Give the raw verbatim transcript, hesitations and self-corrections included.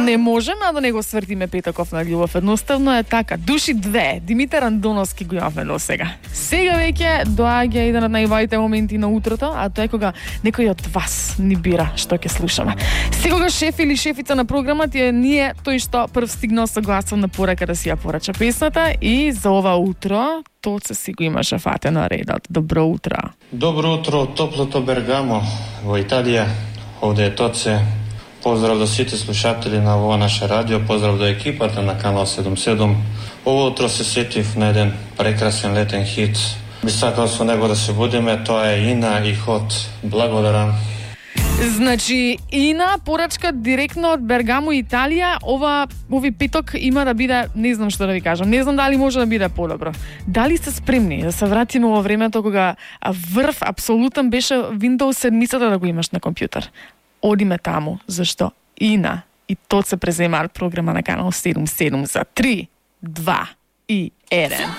не можеме да не го свртиме петоков на љубов. Едноставно е така. Души две. Димитар Андоновски го имавме до сега. Сега веќе доаѓа еден од најважните моменти на утрото, а тоа е кога некој од вас ни бира што ќе слушаме. Секогаш шеф или шефица на програмот е ние тој што прв стигнал со гласовна порака да си ја порача песната и за ова утро Тоце си го имаше фатено редот. Добро утро. Добро утро од топлото Бергамо во Италија. Овде е Тоце. Поздрав до сите слушатели на ова наше радио, поздрав до екипата на Канал седум седум. Ово утро се сетив на еден прекрасен летен хит. Би сакал со него да се будеме, тоа е Ина и Хот. Благодарам. Значи, Ина, порачка директно од Бергамо, Италија. Ова, ови петок има да биде, не знам што да ви кажам, не знам дали може да биде подобро. Дали сте спремни да се вратиме во времето кога врв апсолутен беше Windows седум да го имаш на компјутер? Одиме таму, зашто Ина и Тоце преземаат програма на Канал седум седум за три, два и еден.